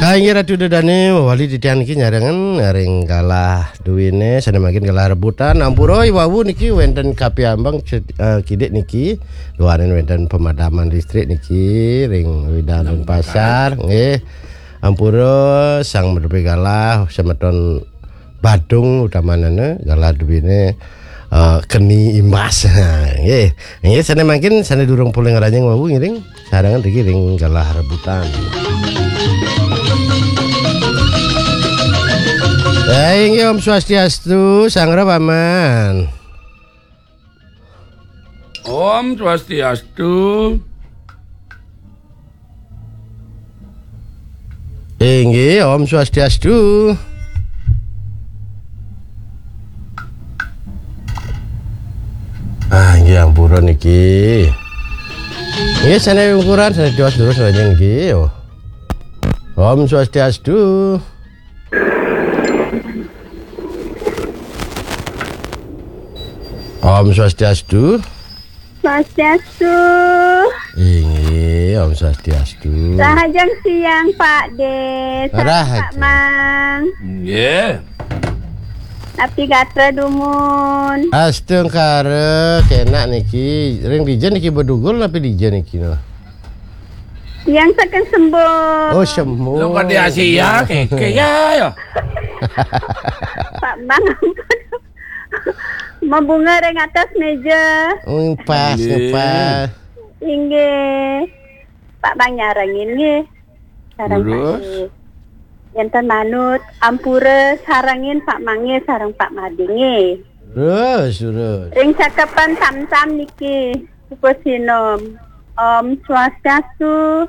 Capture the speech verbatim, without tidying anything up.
Ah, inggih Ratu Dedane, wali titiang niki nyarengan ring galah duwine, sane mangkin galah rebutan. Ampura, i wau niki wenten kapiambang ced-, eh, kidik niki, duaning wenten pemadaman listrik niki ring Widang Denpasar, nggih. Ampura sang menepi galah, semeton Badung utamanana galah duwine, eh, keni imbas. Nggih. Nggih, sane mangkin sane durung polih ngranjing wau ngiring sarengan niki ring galah rebutan. Eh, inggih, Om Swastiastu, Sang Paman. Om Swastiastu. Inggih, Om Swastiastu. Ah, inggih ampura niki. Inggih, sane ungkuran, sane tiwas durus niki. Oh. Om Swastiastu. Om Swastiastu. Swastiastu. Inggih, Om Swastiastu. Rahajeng siang, Pak De. Sareng Pak Mang. Nggih. Napi gatra dumun? Astungkara, kenak niki. Ring dija niki bedugul napi dija niki, no? Tiang saking Sembung. Oh, Sembung. Lo pada Asia, keke ya, ya. Pak Mang, ampun. Mabunga ring atas meja. Oh, pas, nggih, pas. Inggih. Pak Mang nyarengin nggih. Sareng Pak Terus? De. Enten manut, ampura sarengin Pak Mange sareng Pak Made nggih. Terus, terus. Ring cakepan Tamtam niki, pupuh sinom. Om Swastiastu.